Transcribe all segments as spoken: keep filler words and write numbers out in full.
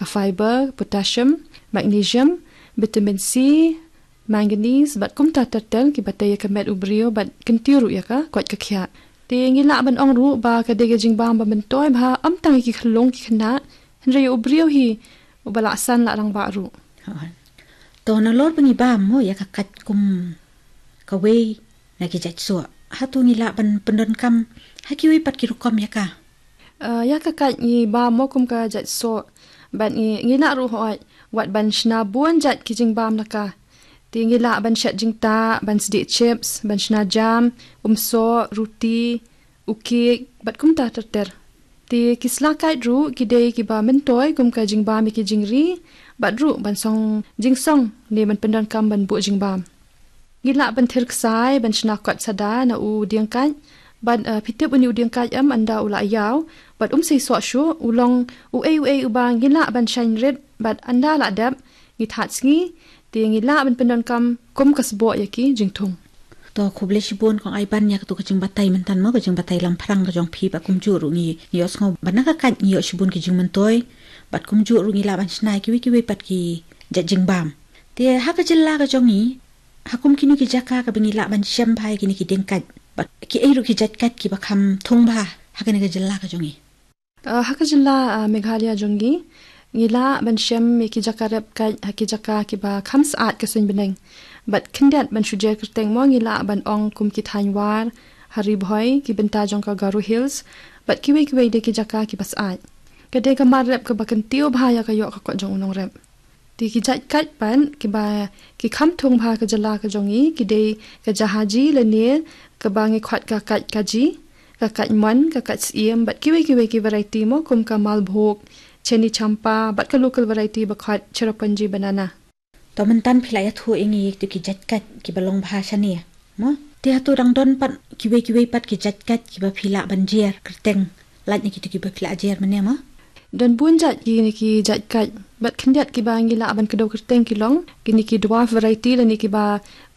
ka fiber, potassium, magnesium, vitamin C, manganese, bad kumta ter ter kiba tei ïa ka met u briew, bad kyntiew ruh ïa ka koit ka khiah. Te ngi lah ban ong ruh ba ka dei ka jingbam ba myntoi bha, ym tang ïa ki khyllung ki khynnah, hynrei ïa u briew hi, uba la san la rangbah ruh. To nalor ba ngi bam mo ïa ka kait kum kawei na ki jait soh, hato ngi lah ban pyndonkam ha kiwei pat ki rukom ïa ka? Eh, ïa ka kait ngi bam mo kum ka jait soh, bad ngi, ngi lah ruh hoi wat ban shna bun jait ki jingbam na ka. Te ngi lah ban shet jingtah, ban sdieh chips, ban shna jam, um soh, ruti, u kek, bad kumta ter ter. Te ki sla kait ruh ki dei kiba myntoi kum ka jingbam ïa ki jingri, bad ruh ban song jingsong ne ban pyndonkam ban buh jingbam. Ngi lah ban thir ksai ban shna kot sada na u dieng kait, bad, eh, phi tip une u dieng kait em, ynda u la ïaw, bad um sei soh shuh, u long uei uei uba ngi lah ban shaiñ rit, bad ynda la dep ngi thad sngi, te ngi lah ban pyndonkam kum ka sboh ïa ki jingthung. To khublei shibun Kong Aiban ïa katu ka jingbatai mynta mo, ka jingbatai langphrang ka jong phi, bad kumjuh ruh ngi, ngi ïohsngew ba na ka kait ngi ïoh shibun ki jingmyntoi, bad kumjuh ruh ngi lah ban shna ïa kiwei kiwei pat ki jait jingbam. Te ha ka jylla ka jong ngi, ha kum kino ki jaka kaba ngi lah ban shem bha ïa kine ki dieng kait, bad kiei ruh ki jait kait kiba kham thung bha ha kane ka jylla ka jong ngi? Eh, ha ka jylla, eh, Meghalaya jong ngi, ngi lah ban shem ïa ki jaka rep kait ha ki jaka kiba kham syaid ka suiñ bneng. Bad khyndiat ban shu jer kyrteng mo, ngi lah ban ong kum ki thaiñ War, ha Ri Bhoi, ki bynta jong ka Garo Hills, bad kiwei kiwei de ki jaka kiba syaid. Ka dei ka mar rep kaba kyntiew bha ïa ka ïoh ka kot jong u nongrep. Te ki jait kait pat kiba ki kham thung bha ha ka jylla ka jong ngi ki dei ka jahaji lane kaba ngi khot ka kait kaji, ka kait mon, ka kait syiem, bad kiwei kiwei ki variety mo kum ka malbhog, cheni champa, bad ka local variety ba khot cherrapunji banana. To mynta phi la ïathuh ïa ngi ïa kitu ki jait kait kiba long bha shane mo. Te hato dang don pat kiwei kiwei pat ki jait kait kiba phi lah ban jer kyrteng lait na kitu kiba phi la jer mynne mo? Don bun jait kine ki jait kait, bad khyndiat kiba ngi lah ban kdew kyrteng ki long kine ki dwarf variety lane kiba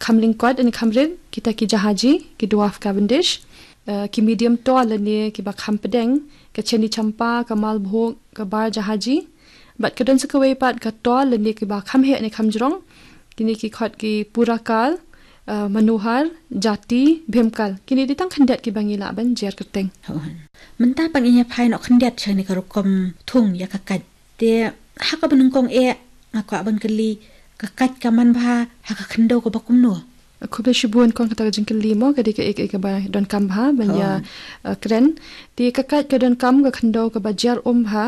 kham lyngkot lane kham rit, kita ki jahaji, ki dwarf Cavendish, eh, ki medium tall lane kiba kham pdeng, ka cheni champa, ka malbhog, ka bar jahaji. Bad ka don sa kawei pat ka tall lane kiba kham heh ne kham jrong, kine ki khot ki Purakal, eh, Manohar, Jati, Bhimkal. Kine dei tang khyndiat kiba ngi lah ban jer kyrteng. Mynta pat ngin ïa phai noh khyndiat sha kane ka rukom thung ïa ka kait. Te ha kaba nyngkong eh nga kwah ban kylli, ka kait ka man bha ha ka khyndew kaba kumno? Khublei shibun Kong, kata ka jingkylli mo ka dei kaei kaei kaba donkam bha ban ïa, eh, kren. Te ka kait ka donkam ka khyndew kaba jer um bha,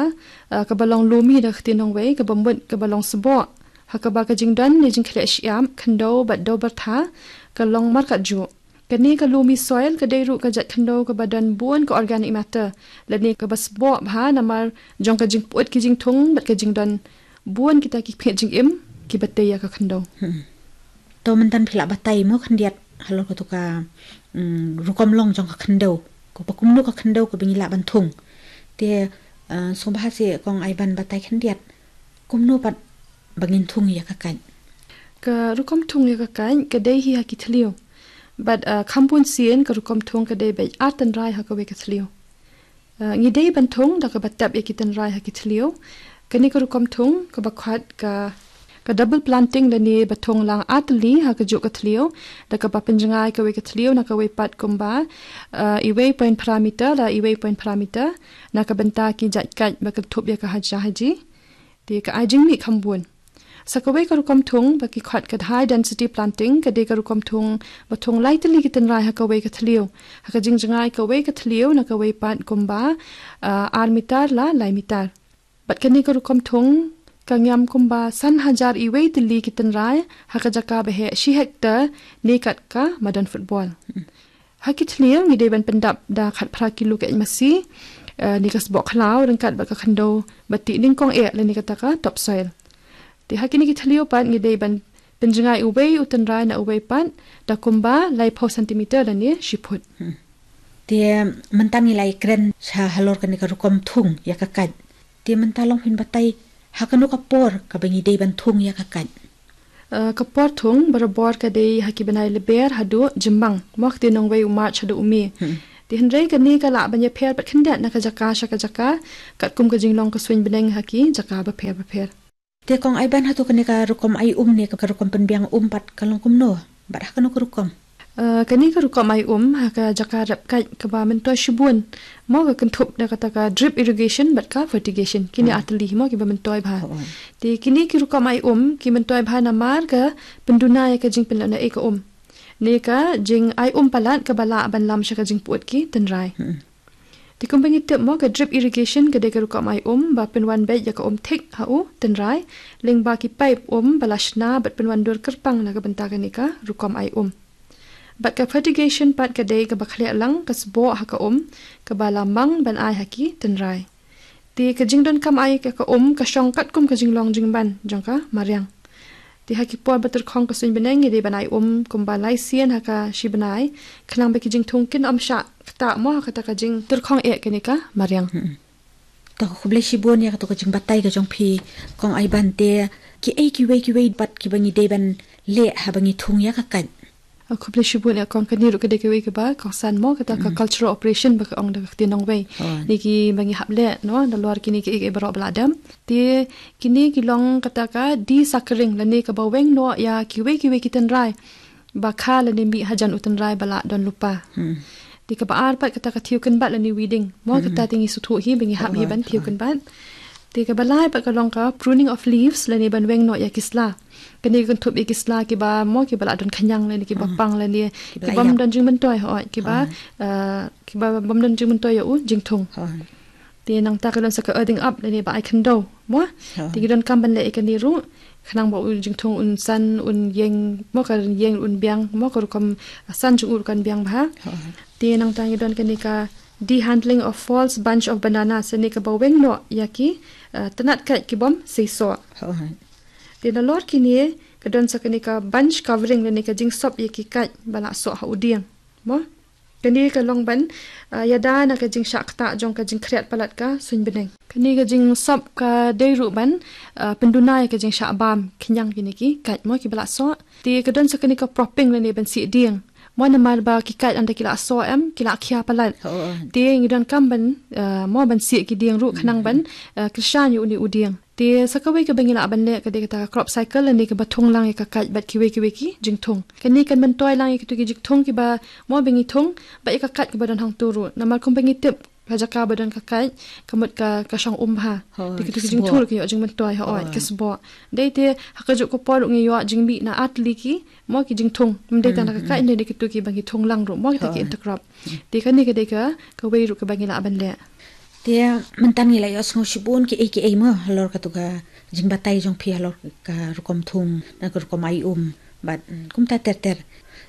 eh, kaba long lumi da ka ktien nongwei, kaba mut kaba long sboh, ha kaba ka jingdon ne jingkhleh shyiap khyndew bad dew byrtha ka long markatjuh. Kane ka loamy soil ka dei ruh ka jait khyndew kaba don bun ka organic matter lane kaba sboh bha namar jong ka jingpyut ki jingthung bad ka jingdon bun kita ki phit jingim kiba tei ïa ka khyndew. To mynta phi lah batai mo khyndiat halor katu ka, mm, rukom long jong ka khyndew, kaba kumno ka khyndew kaba ngi lah ban thung. Te, eh, sngewbha seh Kong Aiban batai khyndiat kumno pat ba ngin thung ïa ka kait? Ka rukom thung ïa ka kait ka dei hi ha ki thliew. Bad, eh, kham bun sien ka rukom thung ka dei beit ar tynrai ha kawei ka thliew. Eh, ngi dei ban thung da kaba tep ïa ki tynrai ha ki thliew. Kane ka rukom thung kaba khot ka, ka double planting lane ba thung lang ar tylli ha kajuh ka thliew, da kaba pynjngai kawei ka thliew na kawei pat kumba, eh, iwei point phra meter la iwei point phra meter na ka bynta ki jait kait ba kynthup ïa ka haji haji. Te ka ai jingmih kham bun. Sa kawei ka rukom thung ba ki khot ka high density planting, ka dei ka rukom thung ba thung lai tylli ki tynrai ha kawei ka thliew, ha ka jingjngai kawei ka thliew na kawei pat kumba, ah, ar meter la lai meter. Bad kane ka rukom thung ka ngiam kumba san hajar iwei tylli ki tynrai ha ka jaka ba heh shi hektar ne kat ka madan football. Ha ki thliew ngi dei ban pyndap da khatphra kilo ka eit masi, eh, ne ka sboh khlaw ryngkat bad ka khyndew ba tih nyngkong eh lane kata ka top soil. Te ha kine ki thliew pat ngi dei ban pynjngai uwei u tynrai na uwei pat da kumba laiphew centimeter lane shi phut. Te mynta ngi la ïakren sha halor kane ka rukom thung ïa ka kait. Te mynta long phin batai ha kano ka por kaba ngi dei ban thung ïa ka kait? Eh, ka por thung barabor ka dei ha ki bnai Lber haduh Jymmang, mo ka ktien nongwei u March haduh u May. Te hynrei kane ka lah ban ïapher pat khyndiat na ka jaka sha ka jaka, katkum ka jinglong ka suiñ bneng ha ki jaka bapher bapher. Te Kong Aiban, hato kane ka rukom ai um ne ka rukom pynbiang um pat ka long kumno? Bad ha kano ka rukom? Uh, kane ka rukom ai um ha ka jaka rep kait kaba myntoi shibun, mo ka kynthup da kata ka drip irrigation bad ka fertigation. Kine hmm. Artylli mo kiba myntoi bha. Oh. Te kine ki rukom ai um ki myntoi bha namar ka pynduna ïa ka jingpynlong na e ka um. Ne ka jing ai um palat kaba lah ban lam sha ka jingput ki tynrai. Hmm. Te kumba ngi tip mo, ka drip irrigation ka dei ka rukom ai um ba pynwan beit ïa ka um thik ha u tynrai lyngba ki paip um ba la shna bad pynwan dur kyrpang na ka bynta kane ka rukom ai um. Bad ka fertigation pat ka dei kaba khleh lang ka sboh ha ka um kaba la mang ban ai ha ki tynrai. Te ka jingdonkam ai ka um ka shong katkum ka jinglong jingman jong ka mariang. Te ha ki por ba tyrkhong ka suiñ bneng ngi dei ban ai um kumba lai sien ha ka shi bnai, khnang ba ki jingthung kin ym shah ktah mo ha kata ka jingtyrkhong eh kane ka mariang. Hmm. To khublei shibun ïa kato ka jingbatai ka jong phi Kong Aiban. Te kiei kiwei kiwei pat kiba ngi dei ban leh haba ngi thung ïa ka kait? Ah, khublei shibun ïa Kong. Kane ruh ka dei kawei kaba kongsan mo kata ka hmm. Cultural operation ba ka ong da ka ktien nongwei. Oh. Ne kiba ngi hap leh no, nalor kine kiei kiei baroh ba la dep. Te kine ki long kata ka desuckering lane kaba weng noh ïa kiwei kiwei ki tynrai ba kha lane mih hajan u tynrai ba la don lypa. Hmm. Te kaba ar pat kata ka thiew kynbat lane weeding. Mo hmm. Kata te ngi sngewthuh hi ba ngi hap hi oh, ban thiew oh. Kynbat. Te kaba lai pat ka long ka pruning of leaves lane ban weng noh ïa ki sla. Kane ka kynthup ïa ki sla kiba mo kiba la don khñiang lane kiba hmm. Pang lane kiba bym don jingmyntoi hooid kiba oh. Uh, kiba bym don jingmyntoi ïa u jingthung. Oh. Te nangta ka don sa ka earthing up lane ba ai khyndew mo. Ha. Te ngi donkam ban leh ïa kane ruh khnang ba u jingthung un san un ïeng mo, ka ïeng un biang mo, ka rukom san jong u ruh kan biang bha. Ha. Te nangta ngi don kane ka dehandling of false bunch of bananas, ne kaba weng noh ïa ki uh, tnat kait ki bym seisoh. Ha. Te nalor kine ka don sa kane ka bunch covering lane ka jingsop ïa ki kait ba la soh ha u dieng. Mo? Kane ka long ban uh, ïada na ka jingshah ktah jong ka jingkhriat palat ka suiñ bneng. Kane ka jingsop ka dei ruh ban uh, pynduna ïa ka jingshah bam khñiang kine ki kait mo kiba la soh. Te ka don sa kane ka propping lane ban sih dieng. Mo namar ba ki kait ynda ki la soh em ki la khia palat. Oh. Te ngi donkam ban uh, mo ban sih ki dieng ruh khnang ban uh, kyrshan ïa une u dieng. Te sa kawei kaba ngi lah ban leh ka dei kata ka crop cycle lane kaba thung lang ïa ka kait bad kiwei kiwei ki jingthung. Kane kan myntoi lang ïa kitu ki jingthung kiba mo ba ngi thung bad ïa ka kait kaba don hangtu ruh. Namar kumba ngi tip ka jaka ba don ka kait ka mut ka ka shong um bha. Hooid. Te kitu ki jingthung ki ïoh jingmyntoi hooid ka sboh. Dei te ha kajuh ka por ruh ngi ïoh jingmih na artylli ki mo ki jingthung. Ym dei tang da ka kait, dei kitu kiba ngi thung lang ruh mo kita ki intercrop. Te kane ka dei ka kawei ruh kaba ngi lah ban leh. Te mynta ngi la ïohsngew shibun kiei kiei mo halor katu ka jingbatai jong phi halor ka rukom thung na ka rukom ai um bad mm, kumta ter ter.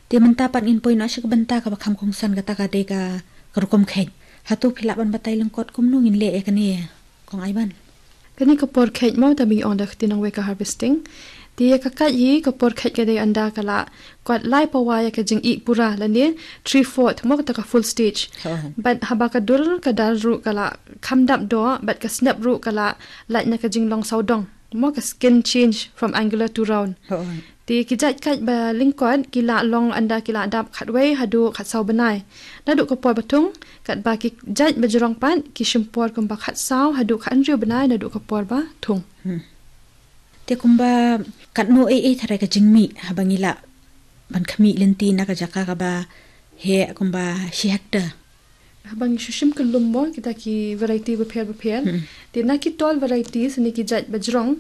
Te mynta pat ngin poi noh sha ka bynta kaba kham kongsan kata ka dei ka ka rukom kheit. Hato phi lah ban batai lyngkot kumno ngin leh ïa kane Kong Aiban? Kane ka por kheit mo, ta ba ngi ong da ka ktien nongwei ka harvesting. Te ïa ka kait hi ka por kheit ka dei ynda ka la kwat lai pawa ïa ka jingih pura lane three fourth mo kata ka full stage. Bad haba ka dur ka dar ruh ka la kham dap doh bad ka snep ruh ka la lait na ka jinglong sawdong mo, ka skin change from angular to round. Te ki jait kait ba lyngkot ki la long ynda ki la dap khatwei haduh khatsaw bnai. Naduh ka por ba thung, katba ki jait ba jrong pat ki shim por kumba khatsaw haduh khathynriew bnai naduh ka por ba thung. Hmm. Te kumba katno ei ei tharai ka jingmih haba ngi lah ban khmih lynti na ka jaka kaba heh kumba shi hectare? Haba ngi shu shim kyllum mo kita ki variety bapher bapher. Hmm. Te na ki tall varieties ne ki jait ba jrong,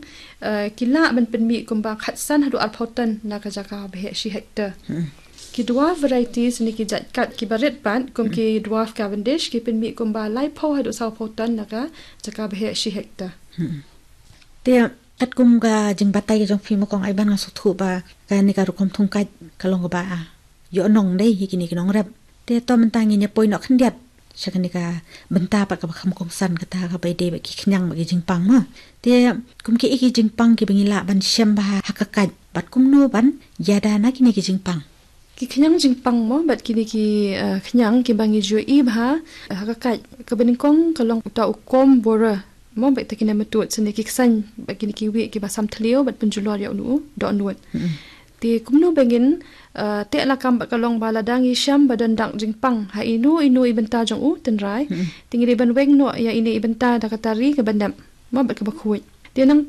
eh, ki lah ban pynmih kumba khatsan haduh arphew ton na ka jaka ba heh shi hectare. Hmm. Ki dwarf varieties ne ki jait kait kiba rit pat kum ki dwarf Cavendish ki pynmih kumba laiphew haduh sawphew ton na ka jaka ba heh shi hectare. Hmm. Te katkum ka jingbatai ka jong phi mo Kong Aiban nga sngewthuh ba kane ka rukom thung kait ka long kaba ïoh nong dei hi kine ki nongrep. Te to mynta ngin ïa poi noh khyndiat sha kane ka bynta pat kaba kham kongsan kata kaba ïadei bad ki khñiang bad ki jingpang mo. Te kum kiei ki jingpang kiba ngi lah ban shem bha ha ka kait bad kumno ban ïada na kine ki jingpang? Ki khñiang jingpang mo bad kine ki, eh, khñiang kiba ngi ju ïohi bha ha ka kait, kaba nyngkong ka long uta u comb borer mo bad kita ki nematode sene ki ksein bad kine kiwei kiba sam thliew bad pynjulor ïa une u dohnud. Mm-mm. Te kumno ba ngin, uh, teh lakam bad ka long ba lada ngi shem ba don dak jingpang ha ino ino i bynta jong u tynrai, te ngi dei ban weng noh ïa ine i bynta da ka tari kaba nep, mo, bad kaba khuid. Te nangta